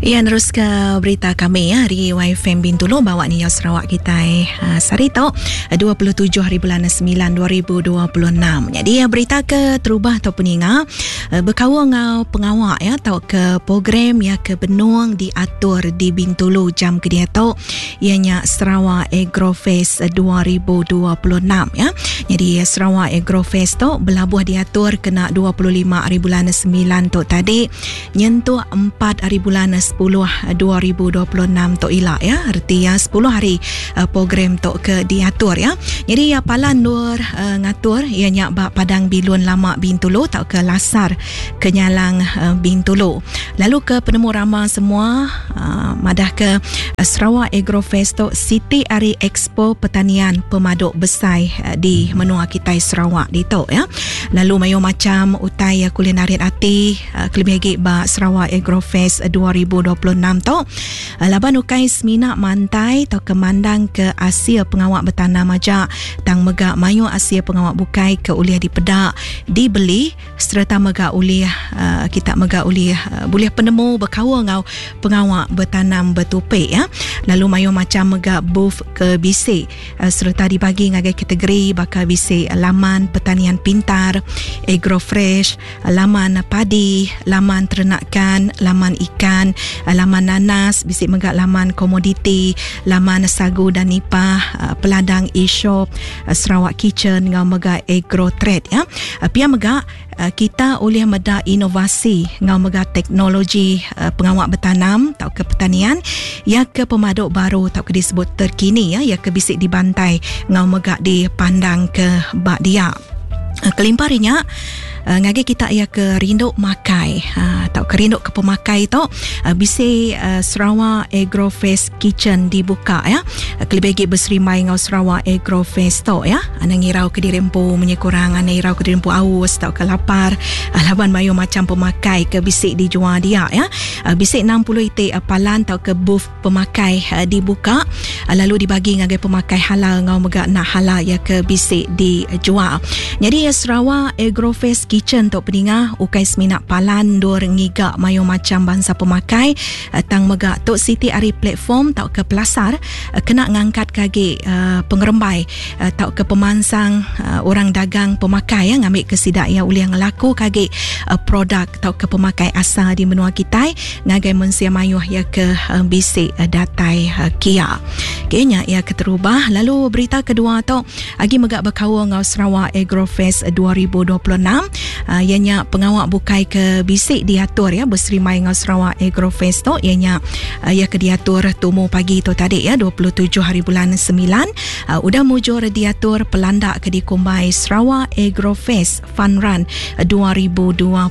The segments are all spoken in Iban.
Iya neruska berita kami ya ari YFM Bintulu bawa ni Sarawak kitai ha, sehari tu 27 hari bulan 9 2026. Jadi ya, berita ke terubah atau peninga eh, berkaul ngau pengawa ya atau ke program ya ke benung diatur di Bintulu jam ke diatu ianya Sarawak Agrofest 2026 ya. Jadi Sarawak Agrofest tu belabuh diatur kena 25 hari bulan 9 tu tadi nyentuk 4 hari bulan 10 2026 tu ila ya. Erti ya 10 hari uh, program tu ke diatur ya. Jadi ya palan nur uh, ngatur ianya ba Padang Bilun Lama Bintulu tau ke Lasar Kenyalang uh, Bintulu. Lalu ke penemu rama semua uh, madah ke uh, Sarawak Agrofest tu siti ari expo pertanian pemaduk besai uh, di menua kitai Sarawak ditu ya. Lalu mayu macam utai uh, kulinari ati uh, kelebih lagi ba Sarawak Agrofest 2026 tu uh, laban ukai semina mantai atau ke mandang ke asil pengawak bertanam aja tang mega mayu asil pengawak bukai ke ulih dipedak dibeli sereta mega ulih uh, kita mega ulih uh, bulih penemu berkaul ngau pengawa betanam betupi ya. Lalu mayu macam mega booth ke bisi uh, sereta dibagi ngagai kategori baka bisi laman pertanian pintar, agro fresh, laman padi, laman ternakan, laman ikan, laman nanas, bisi mega laman komoditi, laman sagu dan nipah, peladang e-shop, Sarawak Kitchen ngau mega agro trade ya. Pia mega kita ulih meda inovasi ngau mega teknologi pengawak bertanam atau ke pertanian ya ke pemaduk baru atau ke disebut terkini ya, ya ke bisi dibantai ngau mega dipandang ke bak dia. Kelimpah rinya ngagi kita ia ke rindu makai atau ke rindu ke pemakai tu bisi Sarawak Agrofest Kitchen dibuka ya. Kelebih lagi berserimbai ngau Sarawak Agrofest tu ya. Ana ngirau ke diri empu menye kurang ana irau ke diri empu aus atau ke lapar laban mayu macam pemakai ke bisi dijual dia ya. Bisi 60 itik palan atau ke booth pemakai dibuka lalu dibagi ngagai pemakai halal ngau mega nak halal ya ke bisi dijual. Jadi Sarawak Agrofest Kitchen tu peninga ukai semina palan dur ngiga mayu macam bangsa pemakai tang mega tu siti ari platform tau ke pelasar kena ngangkat kagi pengerembai tau ke pemansang orang dagang pemakai ya ngambil ke sidak ya ulih ngelaku kagi produk tau ke pemakai asal di menua kitai ngagai mensia mayuh ya ke bisi datai kia. Kayaknya ia keterubah. Lalu berita kedua tu agi mega berkaul ngau Sarawak Agrofest 2026 ianya pengawak bukai ke bisi diatur ya berserimai ngau Sarawak Agrofest tu ianya ia ke diatur tumu pagi tu tadi ya 27 hari bulan 9 udah mujur diatur pelandak ke dikumbai Sarawak Agrofest Fun Run 2026.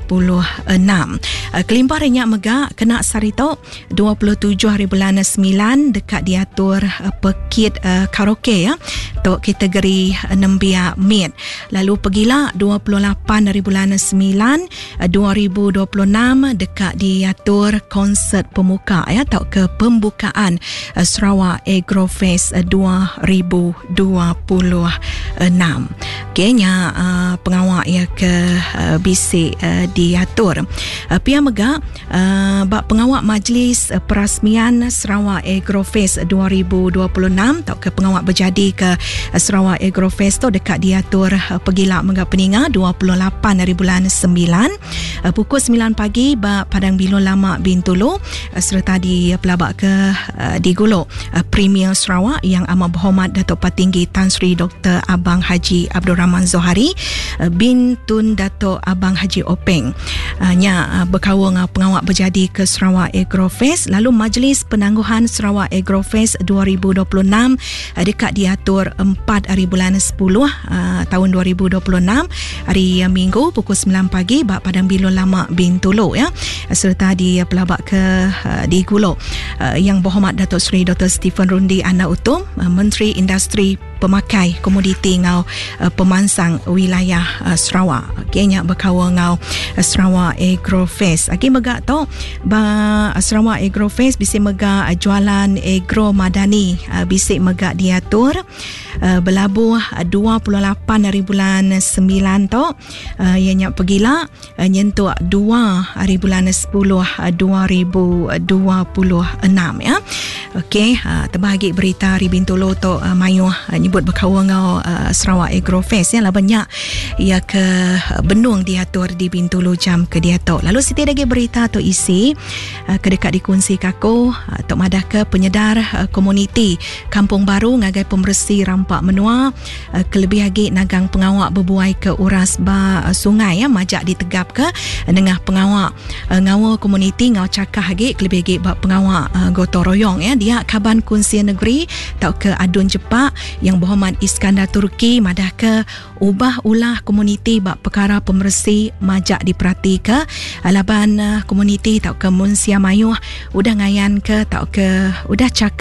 Kelimpah rinya mega kena sehari tu 27 hari bulan 9 dekat diatur pekit karaoke ya tu kategori nembiak mid. Lalu pergilah 28 hari bulan 9 2026 dekat diatur konsert pemuka ya atau ke pembukaan Sarawak Agrofest 2026. Okey nya pengawak ya ke bisi diatur. Pia mega bak pengawak majlis perasmian Sarawak Agrofest 2026 atau ke pengawak berjadi ke Sarawak Agrofest tu dekat diatur pergila mega peninga 28 hari bulan 9 pukul 9 pagi bak Padang Bilun Lama Bintulu serta di pelabak ke di Gulok Premier Sarawak yang amat berhormat Datuk Patinggi Tan Sri Dr. Abang Haji Abdul Rahman Zohari bin Tun Datuk Abang Haji Openg. Nya berkaul dengan pengawak berjadi ke Sarawak Agrofest. Lalu Majlis Penangguhan Sarawak Agrofest 2026 dekat diatur 4 hari bulan 10 tahun 2026 hari Minggu pukul 9 pagi bak Padang Bilun Lama Bintulu ya, serta di pelabak ke di Gulok yang berhormat Datuk Seri Dr. Stephen Rundi Anak Utom Menteri Industri Pemakai Komoditi enggau Pemansang Wilayah Sarawak. Okey nya bekaul enggau Sarawak Agrofest. Agi mega tu ba Sarawak Agrofest bisi mega jualan Agro Madani bisi mega diatur belabuh 28 hari bulan 9 tu iya nya pegila nyentuk 2 hari bulan 10 2026 ya. Okey, tebah agi berita ari Bintulu tu mayuh nyebut bekaul enggau Sarawak Agrofest ya laban nya iya ke benung diatur di Bintulu jam ke diatu. Lalu siti lagi berita tu isi ke deka dikunsi ke aku tu madah ke penyedar komuniti Kampung Baru ngagai pemeresi rampa menua kelebih agi nagang pengawa bebuai ke uras ba sungai ya majak ditegapka nengah pengawa ngaul komuniti enggau chakah agi kelebih agi ba pengawa gotong royong ya. Dia kaban Kunsil Negeri tauka Adun Jepak Yang Berhormat Iskandar Turki madahka ubah ulah komuniti ba pekara pemeresi majak diperatika laban komuniti tauka mensia mayuh udah ngayanka tauka udah chakah.